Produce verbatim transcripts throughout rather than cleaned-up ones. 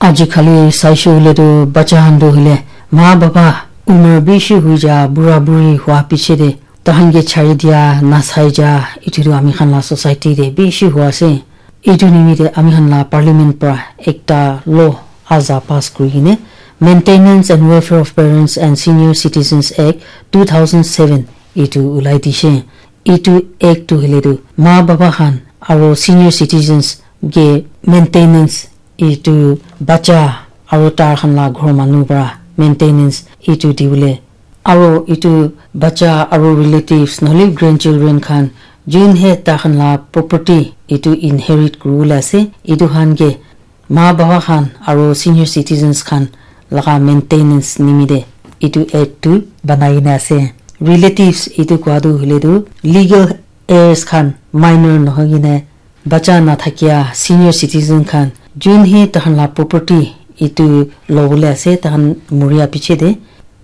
Aji khali saishe hoile tu bacha khan tu hoile ma baba umar bishi hui ja bura buri hua piche de tahan ke chari dia nasai ja itu tu ami khan la society de bishi hua ase. Itu nimite ami khan la parliament pra ekta law aza pass kuri kene Maintenance and Welfare of Parents and Senior Citizens Act two thousand seven itu ulai dishe. Itu act tu hoile tu ma baba khan aro senior citizens ke maintenance itu bacha aro tar khan la ghor manu pra maintenance itu diwole aro itu bacha aro relatives nohole grandchildren khan jun he ta khan la property itu inherit kuribole ase itu khan ke ma baba khan aro senior citizens khan laga maintenance nimite itu act tu banai na ase. Relatives itu koa tu hoile tu legal heirs khan minor nohoi kene bacha nathakia senior citizen khan jun he tahan la property itu lobole ase tahan muria piche de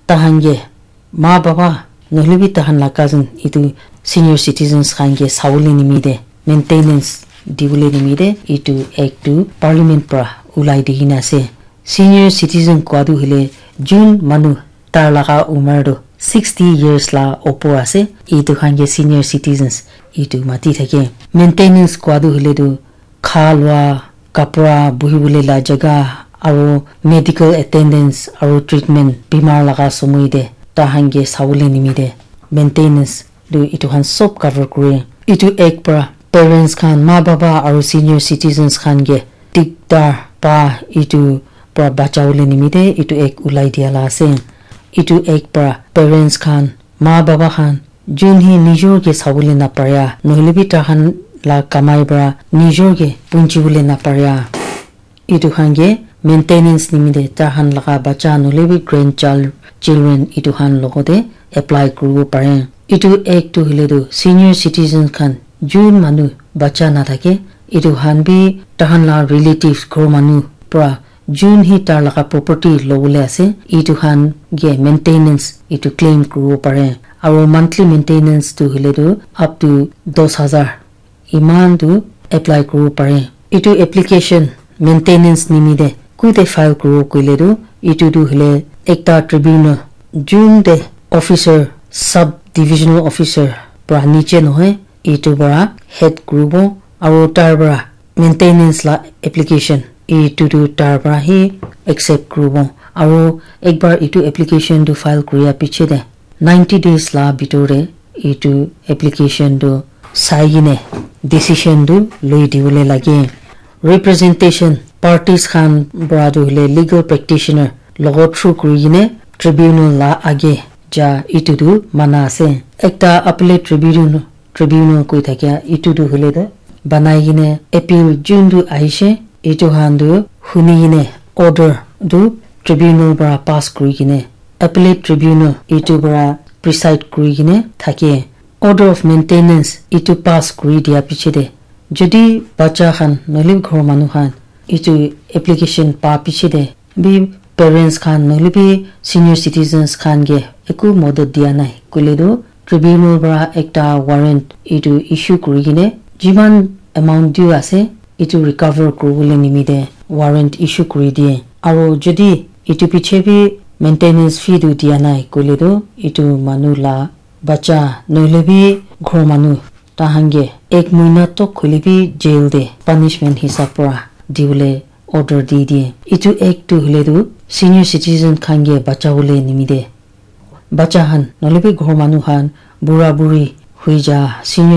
tahan ke ma baba nohole bi tahan la cousin itu senior citizens khan ke sawole nimite maintenance dibole nimite itu act tu parliament pra ulai dikhi na ase. Senior citizen koa tu hoile jun manu tar laga umar tu sixty years la opor ase itu khan ke senior citizens itu mati thake. Maintenance koa tu hoile tu kha lua, kapra, buhibole la jaga, aro medical attendance aro treatment bimar laga somoi te tahan ke sawole nimite maintenance tu itu khan sob cover kure. Itu act pra parents khan, ma baba aro senior citizens khan ke dikdar pa itu pra bachawole nimite itu act ulai dia la ase. Itu act pra parents khan, ma baba khan jun hi nijor ke sawole naparia nohole bi tahan la kamai pra nijor ke punchibole naparia itu khan ke maintenance nimite tahan laga bacha nohole bi grandchild children itu khan logote apply kuribo pare. Itu act tu hoile tu senior citizen khan jun manu bacha nathake itu khan bi tahan la relatives ghor manu pra jun hi tar laga property lobole ase itu khan ke maintenance itu claim kuribo pare aro monthly maintenance tu hoile tu up to dos hazar iman tu apply kuribo pare. Itu application maintenance nimite kuite file kuribo koile tu itu tu hoile ekta tribunal jun te officer sub divisional officer pra niche nohoi itu pra head kuribo aro tar pra maintenance la application itu tu tar pra hi accept kuribo aro ekbar itu application tu file kuria piche te ninety days la bitor te itu application tu sai kene decision tu loi dibole lage. Representation parties khan pra tu hoile legal practitioner logo through kuri kene tribunal la age ja itu tu mana ase. Ekta appellate tribunal tribunal koi thakia itu tu hoile tu banai kene appeal jun tu ahishe itu khan tu huni kene order tu tribunal pra pass kuri kene appellate tribunal itu pra preside kuri kene thake. Order of maintenance itu pass kuri dia piche te jodi bacha khan nohole ghor manu khan itu application pa piche te bi parents khan nohole bi senior citizens khan ke eku modot dia nai koile tu tribunal pra ekta warrant itu issue kuri kene jiman amount due ase itu recover kuribole nimite warrant issue kuri diye aro jodi itu piche bi maintenance fee tu dia nai koile tu itu manu la bacha nohole bi ghor manu tahan ke ek muina tok hoile bi jail te punishment hisab pra dibole order di diye. Itu act tu hoile tu senior citizen khan ke bachawole nimite bacha khan nohole bi ghor manu khan bura buri hui ja senior